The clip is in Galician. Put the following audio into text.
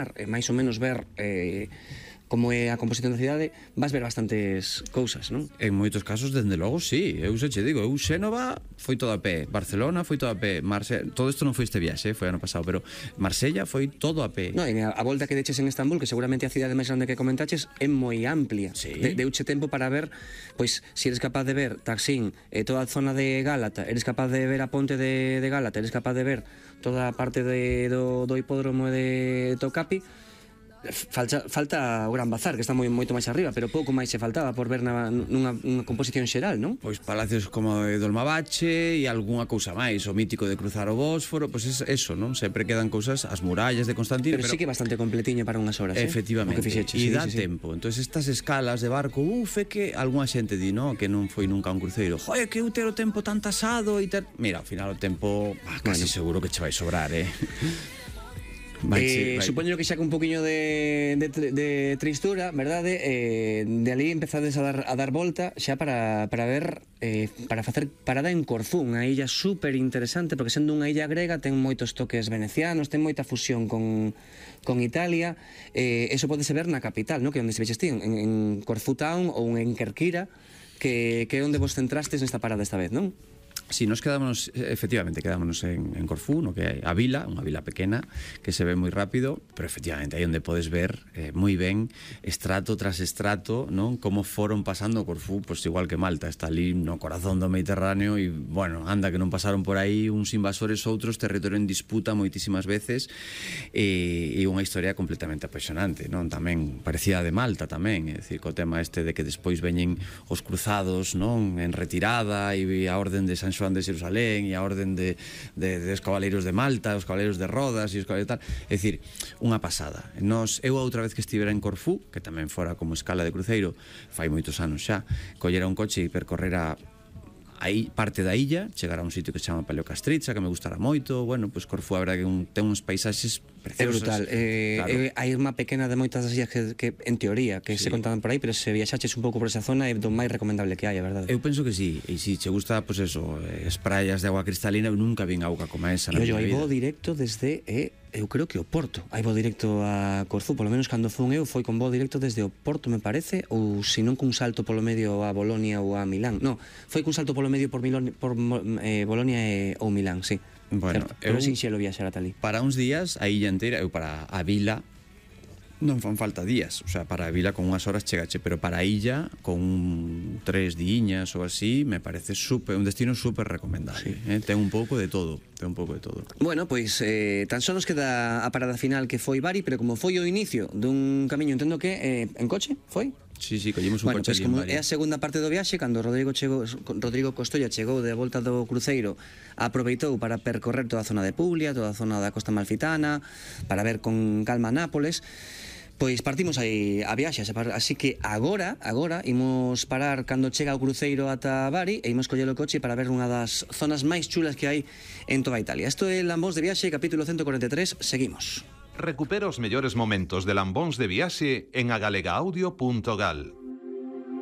imaginar, máis ou menos ver como é a composición da cidade, vas ver bastantes cousas, non? En moitos casos, dende logo, sí. Eu xa che digo, Xénova foi todo a pé, Barcelona foi todo a pé, todo isto non foi este viaxe, foi ano pasado, pero Marsella foi todo a pé. No, e a volta que deches en Estambul, que seguramente a cidade máis grande que comentaches, é moi amplia. Sí. Deuche tempo para ver, pois, se eres capaz de ver Taksim, toda a zona de Gálata, eres capaz de ver a ponte de Gálata, eres capaz de ver toda a parte do hipódromo de Tocapi. Falta o Gran Bazar, que está moito máis arriba, pero pouco máis se faltaba por ver nunha composición xeral, non? Pois palacios como o de Dolmabache e algunha cousa máis, o mítico de cruzar o Bósforo, pois eso, non? Sempre quedan cousas, as murallas de Constantino, pero sí que é bastante completiño para unhas horas, efectivamente, e dá tempo. Entón, estas escalas de barco, é que algunha xente di, non? Que non foi nunca un cruceiro. Joder, que eu ter o tempo tan tasado e ter... Mira, ao final o tempo casi seguro que che vai sobrar, Supoño que xa que un poquinho de tristura, verdade? De ali empezades a dar volta xa para ver, para facer parada en Corfú, unha illa super interesante, porque sendo unha illa grega ten moitos toques venecianos, ten moita fusión con Italia. Eso podese ver na capital, non? Que onde se veches ti, en Corfú Town ou en Kerkira, que é onde vos centrastes nesta parada esta vez, non? Si, nos quedámonos, efectivamente, quedámonos en Corfú, no que hai a vila, unha vila pequena, que se ve moi rápido, pero efectivamente aí onde podes ver moi ben, estrato tras estrato, non? Como foron pasando Corfú, pois igual que Malta, está ali no corazón do Mediterráneo e, bueno, anda que non pasaron por aí uns invasores, outros, territorio en disputa moitísimas veces, e unha historia completamente apaixonante, non? Tamén, parecida de Malta tamén, é dicir, co tema este de que despois veñen os cruzados, non? En retirada, e a orden de San Xoán de Xerusalén e a orden dos cabaleiros de Malta, os cabaleiros de Rodas e os cabaleiros tal, é dicir, unha pasada. Eu a outra vez que estivera en Corfú, que tamén fora como escala de cruceiro, fai moitos anos xa, collera un coche e percorrera aí parte da illa, chegar a un sitio que se chama Paleocastritza, que me gustara moito. Bueno, pois Corfú, a verdade que ten uns paisaxes preciosos. É brutal. Claro. Hai unha pequena de moitas das illas que en teoría, que se contaban por aí, pero se viaxaches un pouco por esa zona é do máis recomendable que hai, a verdade. Eu penso que sí, e se che gusta, pois eso, as praias de agua cristalina, eu nunca vin auga como esa na miña vida. Hai voo directo desde, eu creo que o Porto. Hai voo directo a Corfú, polo menos cando fun eu, foi con voo directo desde o Porto, me parece, ou se non cun salto polo medio a Bolonia ou a Milán. No, foi cun salto polo medio por Bolonia ou Milán, sí. Bueno, pero sinxelo viaxar ata ali. Para uns días, a illa inteira, eu para a vila non fan falta días, o sea, para a vila con unhas horas chegache, pero para a illa con 3 diñas ou así, me parece un destino super recomendable, sí. Ten un pouco de todo, Bueno, pois tan só nos queda a parada final que foi Bari, pero como foi o inicio dun camiño, entendo que en coche, foi? Sí, collemos un coche ali en Bari. É a segunda parte do viaxe, cando Rodrigo Costolla chegou de volta do cruceiro, aproveitou para percorrer toda a zona de Puglia, toda a zona da Costa Amalfitana, para ver con calma Nápoles. Pois partimos aí a viaxe, así que agora imos parar cando chega o cruceiro ata Bari e imos coller o coche para ver unha das zonas máis chulas que hai en toda Italia. Isto é Lambóns de Viaxe, capítulo 143, seguimos. Recupera os mellores momentos de Lambóns de Viaxe en agalegaudio.gal.